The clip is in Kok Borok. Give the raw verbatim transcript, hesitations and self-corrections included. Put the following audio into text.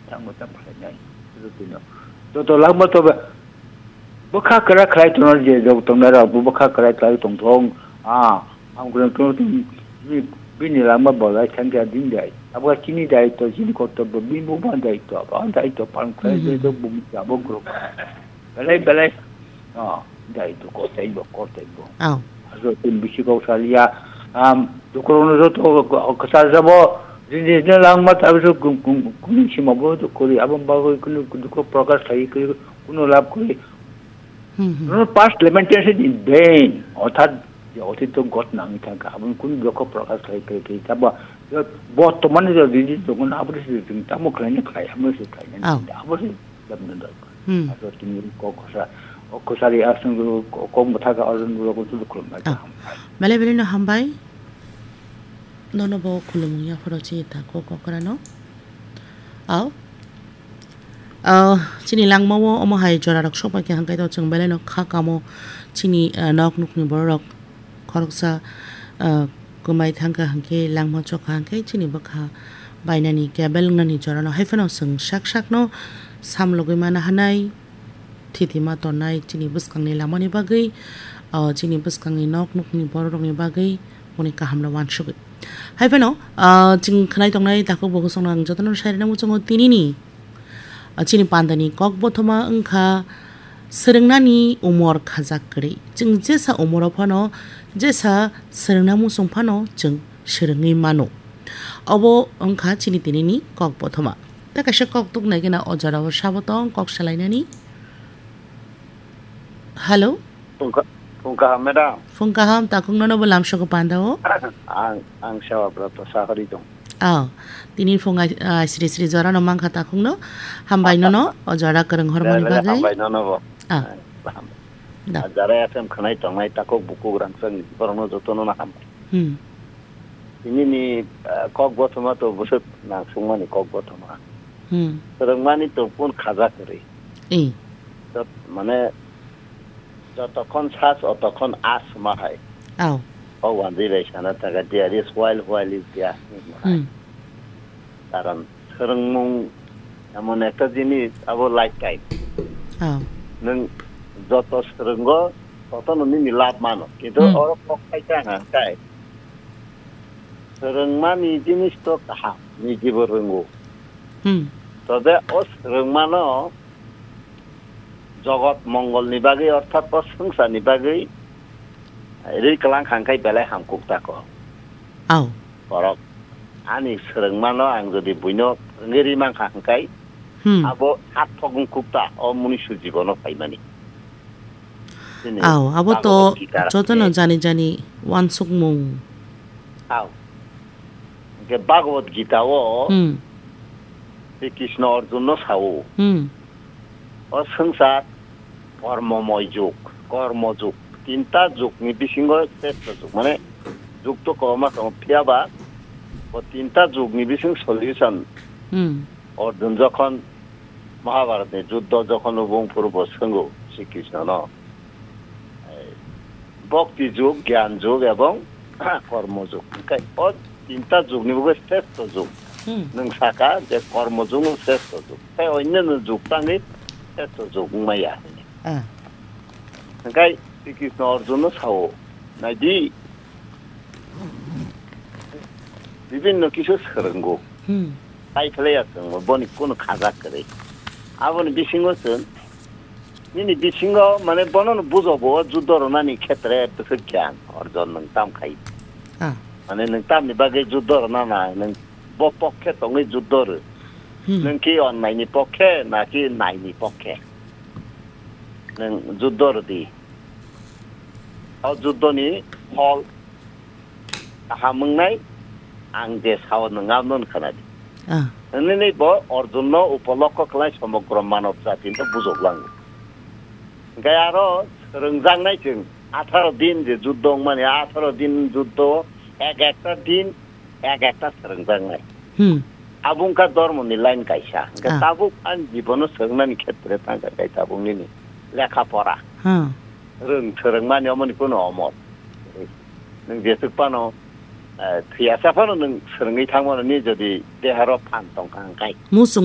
Tamo tamo khlainai. Joto no. Joto langma to ba. Bwkha kwrak khlai tongno je jok tongnai rok, bo bwkha kwrak khlai tongthong. Ah, ang kwrwng tongno tong, bini, bini langma bolai thangkha din dai. Abo chini daitw, chini kortobyo, bini bo ba daitw, ba daitw palan khlai Hmm, hmm, je jok hmm. Bo misa bo kwrwng. Belai, belai. Ah, daitw kotai bo, kotai bo. Oh. Ajo tin bisi kok salia. Am, dukurung joto kwchar jabo. Jini jini langma tabi so kum, kum, kum sima bo to kori. Abo bagwi kunu dukho prokash khai kunu lab kori. Hmm, hmm. No past lamentation in vain. Orthat je otito got nang thangkha. Abo kunu dukho prokash khai khai khai. Tabo bortomane je jini jogon abo se jing tamo khlaina khlai, amo se khlaina. Oh. Abo se Dabna dok. Hmm. Aso tini kok kosa, kok kosari asung dulu, kok, kok motha ka asung dulu, kok tu khulum na Ah. Kaham. Belai belai no hambai. Nono bo khulumung ya phoro chini ta kok kok rano. Au. Ah, chini langma o omo hai jora rok sok bai khe hangkai to chwng belai no kha kamo chini, ah, nok nukni borok rok. Khoroksa, ah, kwmai thangkha hwnkhe langma chokha hwnkhe chini bwkha bainani cable wngnani jorano. Haiphano chwng sak sakno samlogwi mana hanai, thitima tonai chini bwskangni lamani bagwi, ah, chini bwskangni nok nukni bororokni bagwi boni kahamno uansugwi. Haiphano, ah, chwng khwnai tongnai takhuk bo kosongno ang jotono sai rwna muchungo tinini. Ah, chini pandani kok bothoma wngkha swrwngnani umor khajak kwrwi. Chwng jesa umoro phano, jesa swrwngna muchung phano chwng swrwngwi mano. Obo wngkha chini tinini kok bothoma. Tei kaisa kok tuknai gana o jorao sabo tong kok salainani. Hello? Phung ka-, phung kaham, madam? Phung kaham, takhuk nono bo lamsoko panda o? Ang, ang Sewa Broto Sahari dong. Oh, tini phung ai, ah, sri sri jorano mankha takhukno. Hambai nono, o jora kwrwng hormani Belai belai bagwi. Hambai nono bo. Ah. Belai belai hambai. Da. Ah, jara F M khwnai tongnai takhuk bukhuk rangchak ni borokno jotono no hambai. Hmm. Tini ni, ah, kok bothoma to bwswk nangsukmani kok bothoma. Hmm. Swrwngmani to kun khaja kwrwi. Eh. Jot-, mane, jotokhon sas, otokhon as ma hai. Au. O wanjwi bai sana thangkha, "There is while, while is there," hinwi ma hai. Hmm. Karon swrwngmung emon ekta jinis, abo lifetime. Au. Nwng joto swrwngo, totono nini lab mano. Kintu Hmm. oro kok khaikha hwnkhe, swrwngmani jinis to kaham, nijibo rwngo. Hmm. Tobe o swrwngmano jogot mongolni bagwi, orthat o swngcharni bagwi ri kwlang kha hwnkhe belai hamkuk tako. Au. Borok ani swrwngmano ang jodi buino wngwi ri mankha hwnkhe Hmm. abo sarthok wngkuk ta o munusu jibono phaimani. Chini Au, abo to Bhagavad Gita jotono ni jani jani uansukmung. Au. Hwnkhe Bhagavad Gita o Hmm. Sri Krishna Arjun no sao. Hmm. O swngchar kormomoy jug, kormo jug. Tinta jug ni bisingo shrestho jug. Mane jug to kwbangma tongo, phiya ba o tinta jug ni bising solution. Hmm. Arjun jokhon Mahabharat ni juddho jokhon o bung phuru bo swngo Sri Krishna no, eh, bhakti jug, gyan jug ebong kormo jug. Hwnkhe o tinta jug ni bagwi shrestho jug. Hmm. Nwng saka je kormo jug no shrestho jug. Tei onno no jug tangwi shrestho jug wngmaya. Ah. Hwnkhe Sri Krishna Arjun no sao, "Naidi, bibinno kisu swrwngo." Hmm. Tai phlaiya chwngno, boni kunu khaja kwrwi. Aboni bisingo chwng, nini bisingo, mane, bono no bujogo, o judo rwnani khetre bwswk gyan orjon nwng tam khai. Ah. Mane, nwng tamni bagwi judo rwna nai, nwng bo pokhe tongwi judo rw. Hmm. Nwng ki onnai ni pokhe, na ki nai ni pokhe? Nwng judo rwdi. O judo ni phol kaham wngnai, ang je sao nwng abono khwnadi. Ah. Hwnwi bo Arjun no upolokho khlai somogro manob jati no bujok lango. Hwnkhe aro swrwngjaknai chwng atharo din je judo wngmani, atharo din judo, ek ekta din, ek ekta swrwngjaknai. Hmm. Abo wngkha dhormoni line kaisa. Hwnkhe Ah. tabuk ani jibono swrwngnani khetre thangkha khe tabuk nini lekha pora. Hmm. Rwng swrwngmani omoni kuno omor. Nwng jeswk phano, eh, thwiyasa phano nwng swrwngwi thangmano ni jodi deharo phan tongkha hwnkhe. Muchung